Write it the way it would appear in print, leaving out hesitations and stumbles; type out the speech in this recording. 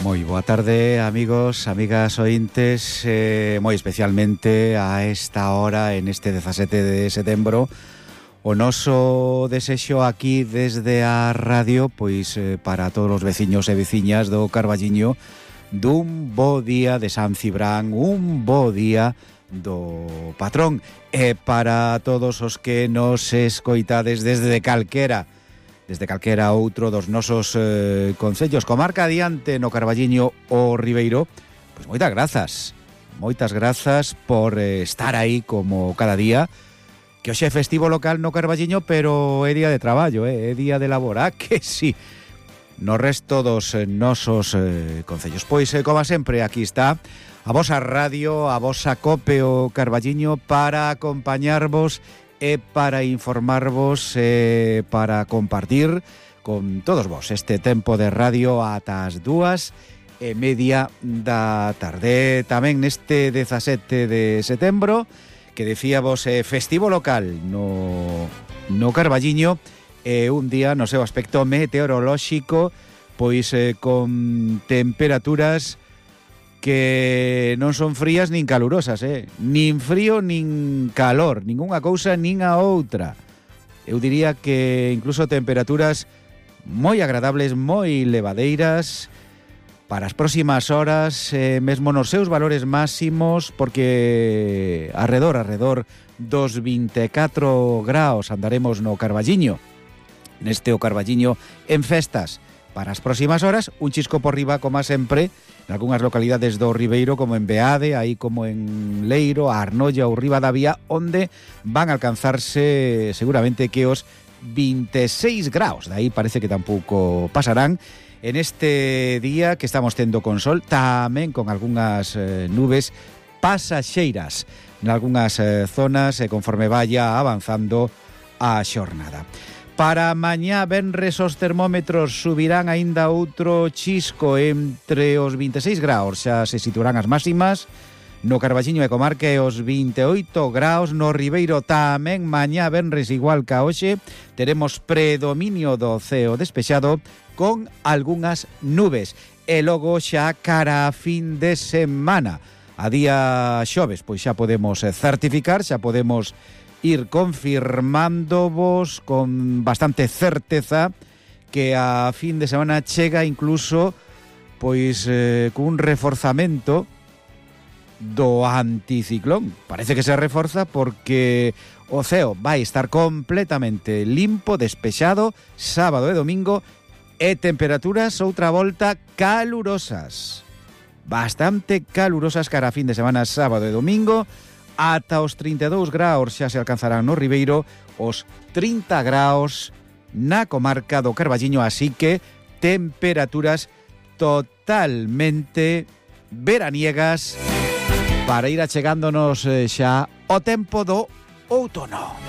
Moi boa tarde, amigos, amigas ointes, moi especialmente a esta hora, en este 17 de setembro, o noso desexo aquí desde a radio, pois para todos os veciños e veciñas do Carballiño, dun bo día de San Cibrán, un bo día do patrón, e para todos os que nos escoitades desde calquera outro dos nosos concellos, comarca adiante no Carballiño o Ribeiro, pois moitas grazas por estar aí como cada día, que hoxe é festivo local no Carballiño, pero é día de traballo, é día de labor, que sí, no resto dos nosos concellos. Pois, como sempre, aquí está a vosa radio, a vosa COPE o Carballiño, para acompañarvos e para informarvos e para compartir con todos vos este tempo de radio ata as 2:30 da tarde. Tamén neste 17 de setembro, que decíamos festivo local no Carballiño, un día no seu aspecto meteorolóxico, pois con temperaturas que non son frías nin calurosas, nin frío nin calor, ningunha cousa nin a outra. Eu diría que incluso temperaturas moi agradables, moi levadeiras para as próximas horas, mesmo nos seus valores máximos, porque arredor dos 24 graus andaremos no Carballiño, neste o Carballiño en festas. Para as próximas horas, un chisco por riba, como sempre, en algunhas localidades do Ribeiro, como en Beade, aí como en Leiro, a Arnolla ou Ribadavia, onde van a alcanzarse seguramente que os 26 graus. De aí parece que tampouco pasarán en este día que estamos tendo con sol, tamén con algunhas nubes pasaxeiras en algunhas zonas, conforme vaya avanzando a xornada. Para mañá venres os termómetros subirán aínda outro chisco entre os 26 graus, xa se situarán as máximas no Carballiño e comarca, e os 28 graus no Ribeiro. Tamén mañá venres igual ca hoxe, teremos predominio do ceo despexado con algunhas nubes, e logo xa cara a fin de semana, a día xoves, pois xa podemos certificar, xa podemos ir confirmándovos con bastante certeza que a fin de semana chega incluso pois cun reforzamento do anticiclón. Parece que se reforza porque o ceo vai estar completamente limpo, despexado, sábado e domingo, e temperaturas outra volta calurosas, bastante calurosas cara a fin de semana, sábado e domingo. Ata os 32 graus xa se alcanzarán no Ribeiro, os 30 graus na comarca do Carballiño, así que temperaturas totalmente veraniegas para ir achegándonos xa o tempo do outono.